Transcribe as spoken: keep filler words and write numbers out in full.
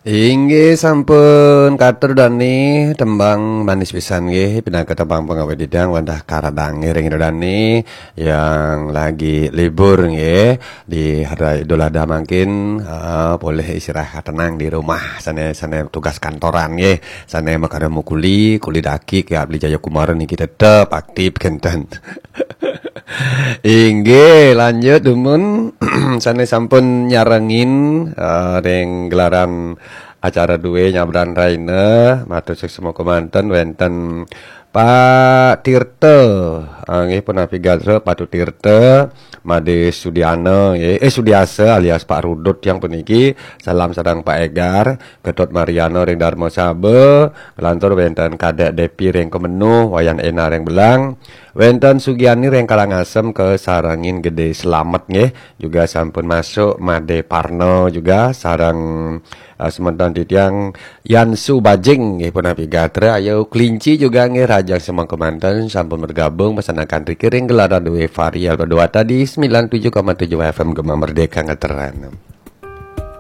Inggih sampun katur dane tembang manis pisan nggih, pinaka tembang pengawit didang wantah karadang ngiring dane yang lagi libur nggih di hari Idul Adha mangkin, heeh, polih istirahat tenang di rumah sane sane tugas kantoran nggih, sane makada mukuli, kuli daki ke Abdi Jaya Kumara niki tetep aktif kenten. Inggih, lanjut dumun sane sampun nyarengin eh, ring gelaran acara duwe nyabran raina, matur suksma kemanten wenten Pak Tirta, eh, nggih punapi gatra Patu Tirta, Made Sudiana, nggih, eh Sudiasa alias Pak Rudut yang puniki, salam sareng Pak Egar, Ketut Mariana ring Darma Saba, lantur wenten Kadek Depi ring Kemenuh, Wayan Ena ring Belang, wenten Sugiani ring Karangasem ke sarengin Gede Selamet nggih, juga sampun masuk Made Parno juga sareng eh, semeton titiang Yansu Bajing nggih punapi gatra, ayo Kelinci juga nggih rajang semangka manten sampun bergabung pesenakan riki ring gelaran duwe Fahri Alba Dewata di sembilan tujuh koma tujuh F M Gema Merdeka Ngeteran.